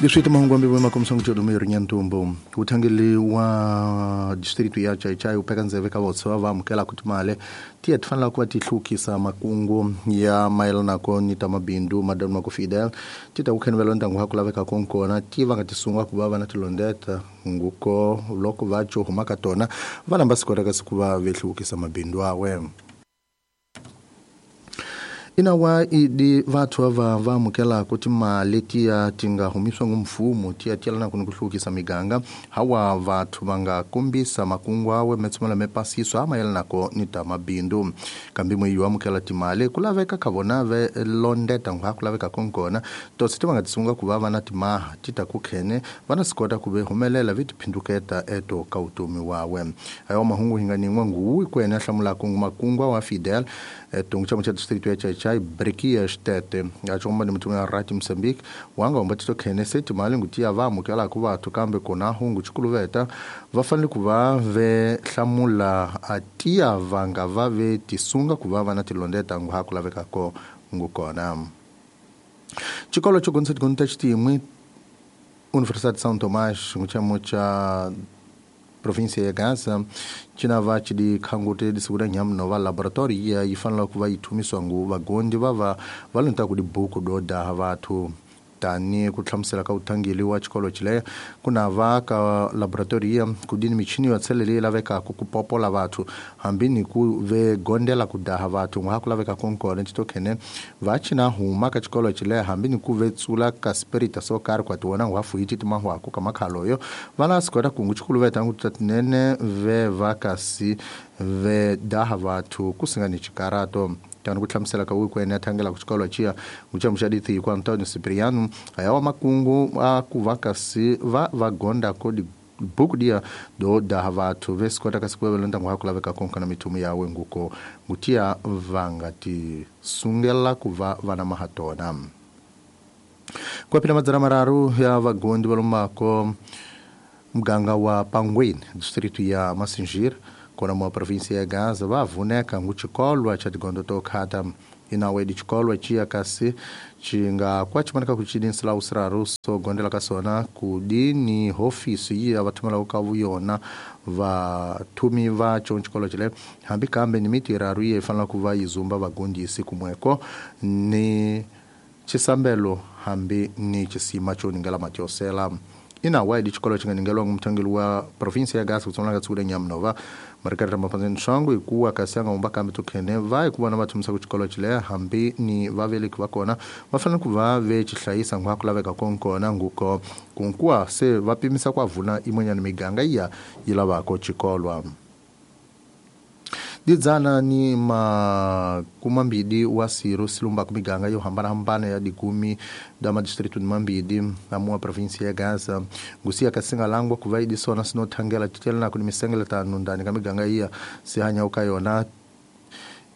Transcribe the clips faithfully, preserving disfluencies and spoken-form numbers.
Leswi mahungu ambi makomisa ngucodo Nyantumbu uthangeli wa district ya Chaichai upeka ndzeve ka votshwa va amukela ku timale tiya ti fanela ku va ti hlukisa makungu ya mayelana ko ni ta mabindu madam mako Fidel ti ta ku khenvela ntangu ha ku laveka konkona ti va nga ti sunga ku va va na tilondeta nguko loko va cho huma ka tona va lamba sikota ka siku va vehlukisa mabindu awe. Inawa idi vathu va va amukela ku timali tiya ti nga humiswa ngumfumo tiya tiyelana ku ni ku hlukisa miganga hawa vathu va nga kombisa makungu awe metsumela mepasiso a mayelanako ni ta mabindu kambe mwe yo amukela timali ku laveka ka vona ve londeta ngwa ku laveka konkona tosi ti va nga tisunga ku va va na timaha ti ta ku khene va na sikota ku ve humelela vi tiphinduketa eto ka utomi wawe ayo mahungu hi nga nin'we nguwi ku ene hlamulaka makungu wa Fidel eto ngitsha cha district ya Chai Brekias Tete achomba ni mtume wa Rati Mozambique wanga ombatito khene seti mali ngutia va amukela ku vathu kambe kona hungu chikuluveta va fanele ku va ve hlamula atia vanga va ve tisunga ku va va na tilondeta ngu ha ku laveka ko ngukona. Chikolo cho gonsa gonta chitimwe Universidade de São Tomás nguchamo cha província ya Gaza chinava chidi khangute di segura nyam nova laboratory ya ifanela ku va ithumiswa ngu vagondi va va va lonta ku dibuku do daha vathu tani ku hlamusela ka uthangeli wa xikolo chile ku na va ka laboratory ya ku dini michini yo tshelele laveka ku ku popola vathu hambi ni ku ve gondela ku daha vathu ngwa ku laveka konkona tito khene va china huma ka xikolo chile hambi ni ku ve tsula ka spirit so karhi kwa tiwona ngwa fuiti timahwa ku ka makhalo yo va la sikota ku ngu xikolo veta ngu tatinene ve va kasi ve daha vathu ku singani chikarato tano ku hlamusela ka wiku ene thangela ku xikolo chia nguchamusha dithi ku Antonio Cipriano ayawa makungu a ku va kasi va va gonda ko di buku dia do daha vathu ve sikota kasi ku vela ntangu ha ku laveka konkana mithumu yawe nguko ngutia vanga ti sungela ku va vana mahatona. Kwapina madzana mararu ya vagondi va lomako muganga wa Pangweni district ya Massingir kona mwa província ya Gaza va vuneka nguchikolwa cha tigondo to khata inawe dichikolwa chia kasi chinga kwa chimanaka kuchidinsila usiraru so gondela ka sona kudini hofisi ya vathumela ka vuyona vathumi va chonchikolo chile hambi kambe ni mitiraru ye fanela ku va yizumba vagondisi kumweko ni chisambelo hambi ni chisima cho ningela matiosela. Inawa idi xikolo xi nga ningelwa ngumthangeli wa província ya Gaza kutsonga tsule nyamnova marikari mapanzeni swangu ikuwa kasi anga umba kambe tukhene va ikuva na vathumisa ku xikolo chile hambi ni vaveleki va kona va fanele ku va ve xihlayisa ngwa ku laveka konkona nguko kunkuwa se va pimisa ku avuna imwenyana miganga iya yi lavako xikolwa. Didzana ni makumambidi wa siro silumba kumiganga yo hambana-hambana ya dikumi da madistritu ni mambidi amua província ya Gaza ngusiya kasinga langwa kuva idisona sinothangela titelana kuni misengele tanu ndani ka miganga iya sihanya uka yona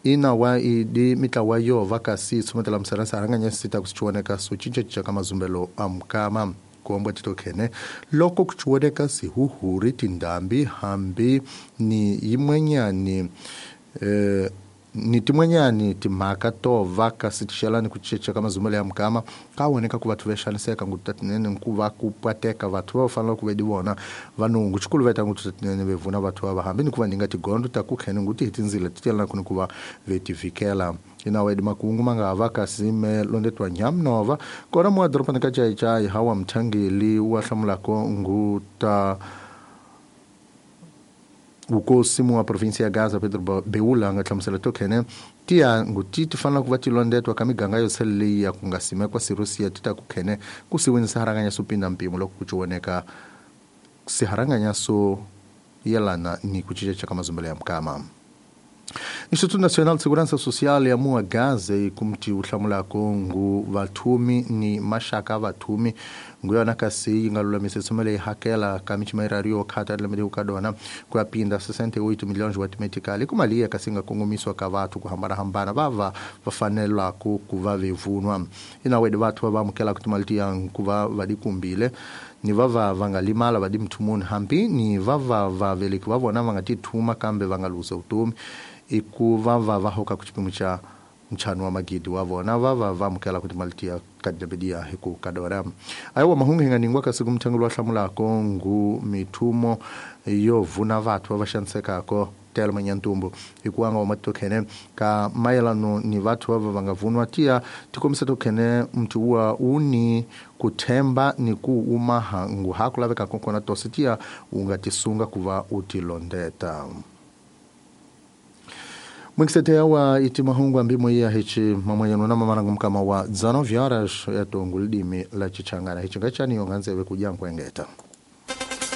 ina wa idi mitlawa yo vakasi tsumetela msaransa haranganya sita kusichiwoneka so cinca ka mazumbelo a mukama kuomba titokhene loko kuchiwoneka sihuhuri tindambi hambi ni yimwenyani eh, ni timwenyani timhaka to va kasi tixelani ku cinca ka mazumbelo ya mukama ka woneka ku vathu vexaniseka ngu tatinene ku va ku pateka vathu va fanele ku ve di vona vanungu xikulu veta ngu tatinene ve vuna vathu va hambi ni ku va ninga tigondo ta ku khene ngu ti hi tindzila ti telana ku ni ku va ve ti vikela. Inawa idi makungu manga va kasi me londetwa nyamnova kona mwa doropani ka Chaichai hawa mthangeli wa hlamulako ngu ta ukosi wa província ya Gaza Pedro Beula nga hlamusela tokhene tiya nguti ti fanela ku va ti londetwa ka miganga yo tsheleliya ku nga simekwa sirusiya ti ta ku khene ku siwinisa haranganya so pinda mpimo loko ku chiwoneka siharanganya so yelana ni ku cinca ka mazumbelo ya mukama. Instituto Nacional de Segurança Social ya mua Gaza ikumti uhlamulako ngu vathumi ni mashaka vathumi ngu yona kasi yi nga lulamisa tsumele yi hakela ka michimairari yo khata lembe ka dona ku ya pinda sessenta e oito milhões wa timetikali ku mali ya kasi nga kongomiswa ka vathu ku hambana-hambana va va va fanela ku ku va vevunwa inawe di vathu va va amukela ku timali tiya ku va va dikumbile ni va va va nga limala va di mthumuni hambi ni va va va veleki va vona va nga ti thuma kambe va nga luza vutomi i ku va va va hoka ku xipimo xa ntlhanu wa magidi wa vona va va va amukela ku timali tiya ka diya hi ku kadora. Ayiwa mahungu hi nga ningwa kasi ku muthengi lowa hlamulako ngu mithumo yo vuna vathu va va xanisekako tela manyantumbu hikuva nga wa matokhene ka mayelano ni vathu va va nga vunwa tiya tikombisa tokhene mntu wa uni kuthemba ni ku umaha ngu ha ku laveka kokona tosi tiya u nga tisunga ku va u tilondeta. Mwingisete wa iti mahungu ambimo iya hichi mamwanyano na mamarangu mkama wa dezenove horas ya tongu lidimi la chichangana hichi ngachani yonganzewe kujangu engeta.